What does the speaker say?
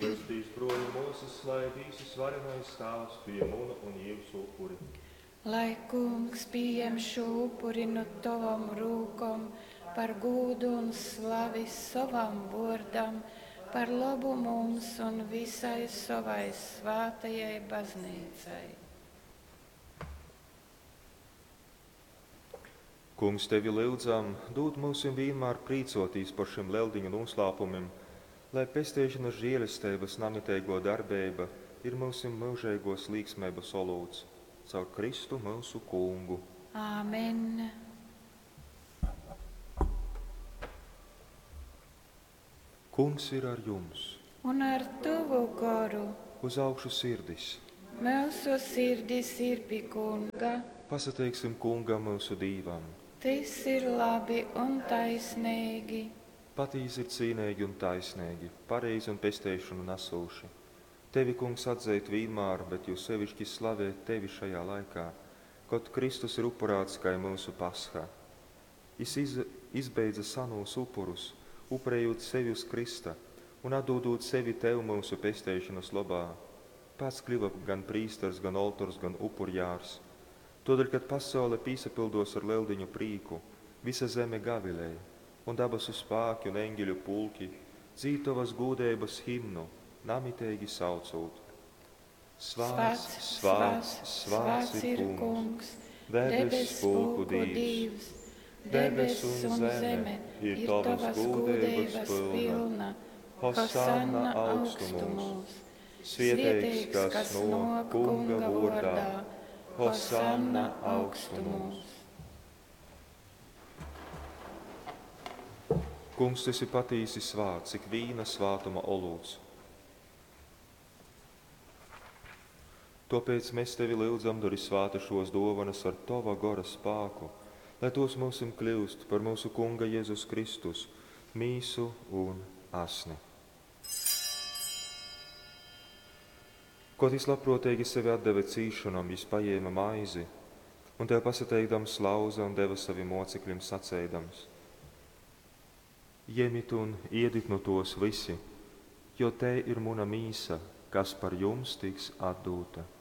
Lūdzu, bruoļi, muosys, lai Dīvs varenais Tāvs pījem munu un jiusu upuri. Lai Kungs pījem šo upuri nu tovom rūkom par gūdu un slavi sovam vōrdam, par lobu mums un visai sovai svātajai baznīcai. Kungs, tevi lyudzam, dūd myusim vīnmār prīcōtīs par šim leldiņu noslēpumim, lai pesteišanas žēlesteibas namiteigō darbeiba ir myusim myužeigōs līksmeibas olūts. Caur Kristu myusu Kungu. Āmen. Kungs ir ar jums. Un ar tavu goru. Uz augšu sirdis. Mūsu sirdis ir pie Kunga. Pasateiksim Kungam myusu Dīvam. Tas ir labi un taisnīgi. Patīsi ir cīnīgi un taisnīgi, pareizi un pesteišanu nesūši. Tevi, Kungs, atzeit vienmēr, bet jo sevišķi slavēt tevi šajā laikā, kad Kristus ir upurāts kā mūsu pasha. Jis iz, izbeidza sanūs upurus, upurējot sevi uz Krista un atdodot sevi tev mūsu pesteišanas labā. Pats kļuva gan prīsters, gan oltors, gan upurjārs. Todēļ, kad pasaule pīsapildos ar leldiņu prīku, visa zeme gavilēja, un dabasu spāki un eņģeļu pulki dzīd tavas gūdeibas himnu, namiteigi saucot. Svāts, svāts, svāts ir Kungs, debes pulku Dīvs. Debes un zeme ir tavas gūdeibas pilna. Hosanna augstumos. Svieteigs, kas no Kunga vordā. Hosanna augstumos. Kungs, tu esi patīsi svāts, cik vīna svātuma olūts. Tāpēc mēs tevi lūdzam, dori svāta šos dovanas ar tava gora spāku, lai tos mūsim kļūst par mūsu Kunga Jēzus Kristus, mīsu un asni. Ko jis labprātīgi sevi atdeva cīšanom, jis paņēma maizi un tev pasateikdams lauza un deva saviem mocekļiem sacēdams: Ņemiet un iedit no tos visi, jo te ir muna mīsa, kas par jums tiks atdūta.